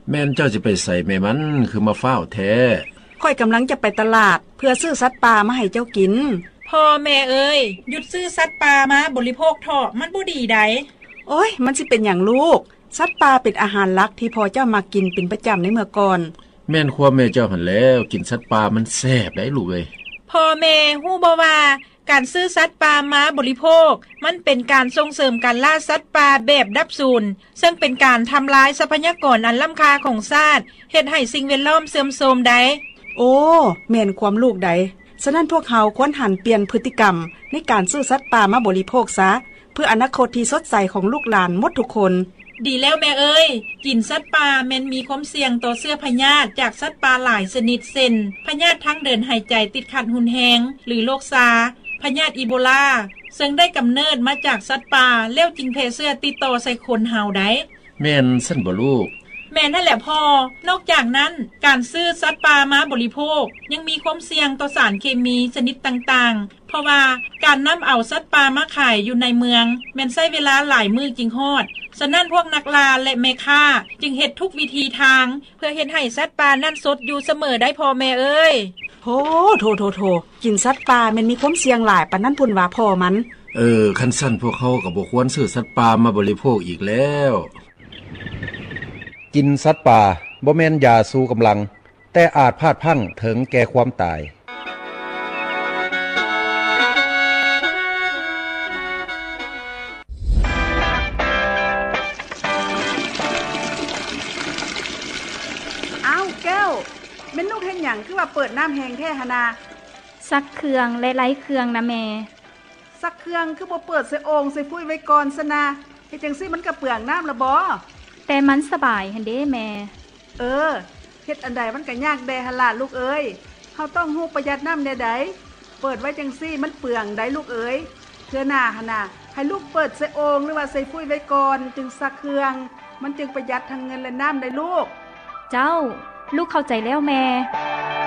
ແມ່ນເຈົ້າຊິໄປໃສແມ່ມັນ ຄືມາຟ້າວແທ້? ຂ້ອຍກຳລັງຈະໄປຕະຫຼາດ ເພື່ອຊື້ສັດປ່າມາໃຫ້ເຈົ້າກິນ. ພໍ່ແມ່ເອີຍ, ຢຸດຊື້ສັດປ່າມາບໍລິໂພກເຖາະ, ມັນບໍ່ດີໃດ. ໂອ້ຍ, ມັນຊິເປັນຫຍັງລູກ? ສັດປ່າເປັນອາຫານຫຼັກທີ່ພໍ່ເຈົ້າມັກກິນເປັນປະຈຳໃນເມື່ອກ່ອນ. ແມ່ນຄວາມແມ່ເຈົ້າຫັ້ນແຫຼ້ວ, ກິນສັດປ່າມັນແຊບໃດລູກເອີຍ. ພໍ່ແມ່ຮູ້ບໍ່ວ່າ ການຊື້ສັດປ່າມາບໍລິໂພກ ມັນເປັນການສົ່ງເສີມການລ່າສັດປ່າແບບດັບສູນ, ເຊິ່ງເປັນການທຳລາຍຊັບພະຍາກອນອັນລ້ຳຄ່າຂອງຊາດ, ເຮັດໃຫ້ສິ່ງແວດລ້ອມເສື່ອມໂຊມໃດ. ໂອ້, ແມ່ນຄວາມລູກໃດ. ສະນັ້ນພວກເຮົາຄວນຫັນປ່ຽນພຶດຕິກຳໃນການຊື້ສັດປ່າມາບໍລິໂພກຊະ, ເພື່ອອະນາຄົດທີ່ສົດໃສຂອງລູກຫຼານໝົດທຸກຄົນ. ດີແລ້ວແມ່ເອີຍ, ກິນສັດປ່າແມ່ນມີຄວາມສ່ຽງຕໍ່ເຊື້ອພະຍາດຈາກສັດປ່າຫຼາຍຊະນິດ ເຊັ່ນ ພະຍາດທາງເດີນຫາຍໃຈຕິດຂັດຮຸນແຮງ ຫຼື ໂລກຊາ, ພະຍາດອີໂບລາ, ເຊິ່ງໄດ້ກຳເນີດມາຈາກສັດປ່າ ແລ້ວຈຶ່ງແຜ່ເຊື້ອຕິດຕໍ່ໃສ່ຄົນເຮົາໃດ. ແມ່ນຊັ້ນບໍ່ລູກ? ແມ່ນຫັ້ນແຫຼະພໍ່. ນອກຈາກນັ້ນ, ການຊື້ສັດປ່າມາບໍລິໂພກ ຍັງມີຄວາມສ່ຽງຕໍ່ສານເຄມີຊະນິດຕ່າງໆ, ເພາະວ່າການນຳເອົາສັດປ່າມາຂາຍຢູ່ໃນເມືອງ ແມ່ນໃຊ້ເວລາຫຼາຍມື້ຈຶ່ງຮອດ. ສະນັ້ນພວກນັກລ່າ ແລະ ແມ່ຄ້າຈຶ່ງເຮັດທຸກວິທີທາງ ເພື່ອເຮັດໃຫ້ສັດປ່ານັ້ນສົດຢູ່ສະເໝີໄດ໋ພໍ່ແມ່ເອີຍ. ໂທ, ໂທ, ໂທ, ໂທ, ກິນສັດປ່າແມ່ນມີຄວາມສ່ຽງຫຼາຍປານນັ້ນພຸ້ນຫວາພໍ່ມັນ. ເອີ, ຄັນຊັ້ນພວກເຮົາກໍບໍ່ຄວນຊື້ສັດປ່າມາບໍລິໂພກອີກແລ້ວ. ກິນສັດປ່າບໍ່ແມ່ນຢາຊູກຳລັງ, ແຕ່ອາດພາດພລັ້ງເຖິງແກ່ຄວາມຕາຍ. ອ້າວ ແກ້ວ, ແມ່ນລູກເຮັດຫຍັງ ຄືວ່າເປີດນ້ຳແຮງແທ້ຫັ້ນນາ? ຊັກເຄື່ອງ ແລະ ໄລ່ເຄື່ອງນະແມ່. ຊັກເຄື່ອງຄືບໍ່ເປີດໃສ່ໂອ່ງໃສ່ຟຸ້ຍໄວ້ກ່ອນຊັ້ນນະ? ເຮັດຈັ່ງຊີ້ມັນກະເປືອງນ້ຳລະບໍ? ແຕ່ມັນສະບາຍຫັ້ນເດ້ແມ່. ເອີ, ເຮັດອັນໃດມັນກະຍາກແດ່ຫັ້ນລະລູກເອີຍ. ເຮົາຕ້ອງຮູ້ປະຢັດນ້ຳແນວໃດ. ເປີດໄວ້ຈັ່ງຊີ້ມັນເປືອງໄດ໋ລູກເອີຍ. ເທື່ອໜ້າຫັ້ນນະ, ໃຫ້ລູກເປີດໃສ່ໂອ່ງ ຫຼືວ່າໃສ່ຟຸ້ຍໄວ້ກ່ອນ ຈຶ່ງຊັກເຄື່ອງ. ມັນຈຶ່ງປະຢັດທັງເງິນ ແລະ ນ້ຳໄດ໋ລູກ. ເຈົ້າ, ລູກເຂົ້າໃຈແລ້ວແມ່.